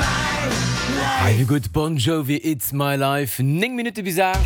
Hei wéi gutt Bon Jovi, It's My Life. 9 Minutte bis 8.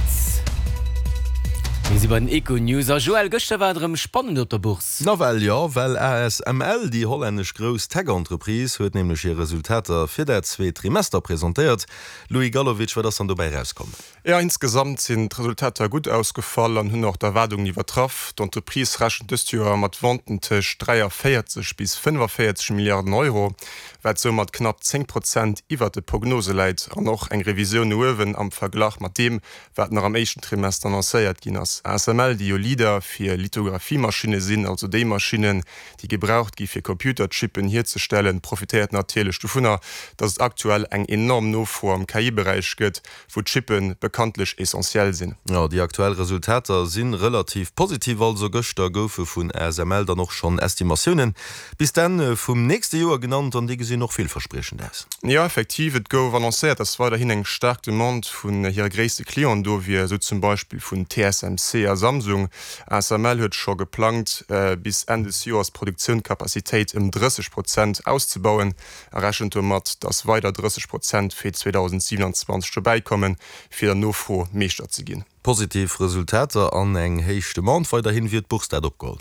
Mir si bei den Econews. A Joël, gëschter war et erëm spannend op der Bourse. Nawell jo, well ASML, déi hollännesch grouss Tech-Entreprise, huet nämlech hir Resultater fir dat zweet Trimester presentéiert. Louis Galowitsch, wat ass dann dobäi erauskomm? Jo, insgesamt sinn d'Resultater gutt ausgefall an hunn och d'Erwaardungen iwwertraff. D'Entreprise rechent dëst Joer mat Venten tëscht 43 bis 45 Milliarden Euro, wat soumat knapp 10 Prozent iwwert de Prognose läit an och eng Revisioun no uewen am Verglach mat deem, wat nach am éischten Trimester annoncéiert ginn ass. ASML, déi jo Leader fir Lithographiemaschinne sinn, also déi Maschinnen, déi gebraucht gi fir Computerchippen hierzestellen, profitéiert natierlech dovunner, datt et aktuell eng enorm Nofro am KI-Beräich gëtt, wou d'Chippe bekanntlech essentiell sinn. Jo, déi aktuell Resultater si relativ positiv. Also gëschter goufe vun ASML dann och schonn Estimatiounen bis d'Enn vum nächste Joer genannt an déi gesinn och villverspriechend aus. Jo, effektiv, et gouf annoncéiert, dass weiderhin eng staark Demande vun hire gréisste Clienten do wier, esou zum Beispill vun TSMC a Samsung. ASML huet scho geplangt, bis Enn des Joers d'Produktiouncapacitéit ëm 30 Prozent auszebauen. a rechent domat, datt weider 30 Prozent fir 2027 dobäi kommen, fir der Nofro Meeschter ze ginn. Positiv Resultater an eng héich Demande weiderhin, wéi huet d'Bourse dat opgeholl?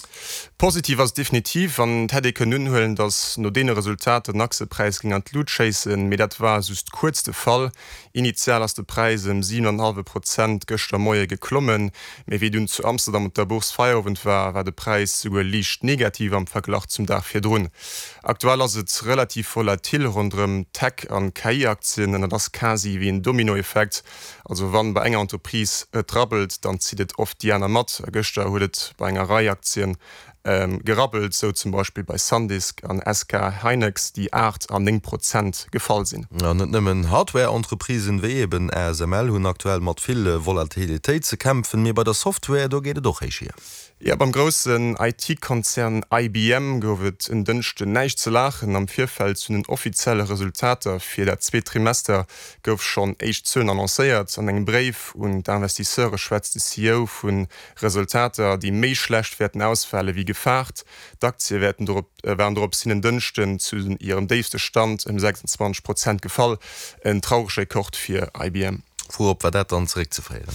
Positiv ass et definitiv an et hätt ee kënnen unhuelen, datt no deene Resultater den Aktiepräis géing an d'Lut schéissen, mee dat war just kuerz de Fall. Initial ass de Präis ëm 7 an hallwe Prozent gëschter Moie geklommen, mee wéi dunn zu Amsterdam op der Bourse Feierowend war, war de Präis souguer liicht negativ am Verglach zum Dag virdrun. Aktuell ass et relativ volatil ronderëm Tech an KI-Aktien an dat ass quasi wéi en Dominoeffekt, also wann bei enger Entreprise et rabbelt, dann zitt et oft déi aner mat. A gëschter huet et bei enger Rei Aktien gerabbelt, sou zum Beispill bei Sandisk an SK Hynix, déi 8 an 9 Prozent gefall sinn. An net nëmmen Hardware-Entreprisen, wéi eben ASML, hunn aktuell mat vill Volatilitéit ze kämpfen, mee bei der Software, do geet et och héich hier. Jo, beim groussen IT-Konzern IBM gouf et en Dënschden näischt ze laachen. Am Virfeld zu den offizielle Resultater fir dat zweet Trimester gouf schonn éischt Zuelen annoncéiert. An engem Bréif un d'Investisseure schwätzt de CEO vu Resultater, déi méi schlecht wäerten ausfale wéi gefaart. D'Aktie wäerten dorop waren dorops hin en Dënschden zu hirem déifste Stand ëm 26 Prozent gefall, en traurege Rekord fir IBM. Wourop war dat dann zeréckzeféieren?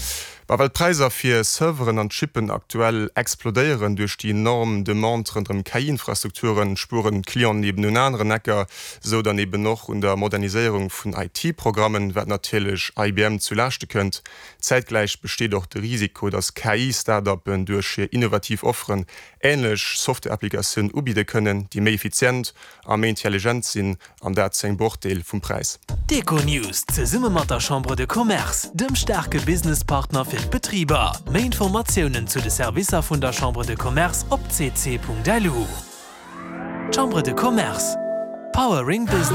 Ma well d'Präisser fir Serveren an Chippen aktuell explodéieren duerch déi enorm Demande ronderëm KI-Infrastrukturen, spueren d'Clienten eben un aneren Ecker, sou dann eben och un der Moderniséierung vun IT-Programmen, wat natierlech IBM zu Laaschte kënnt. Zäitgläich besteet och de Risiko, datt KI-Start-uppen duerch hir innovativ Offeren änlech Software-Applikatiounen ubidde kënnen, déi méi effizient a méi intelligent sinn, an dat zu engem Brochdeel vum Präis. D'Econews zesumme mat der Chambre de Commerce, dem staarke Businesspartner fir d'Betriber. Méi Informatiounen zu de Servicer vun der Chambre de Commerce op cc.lu. Chambre de Commerce, powering business.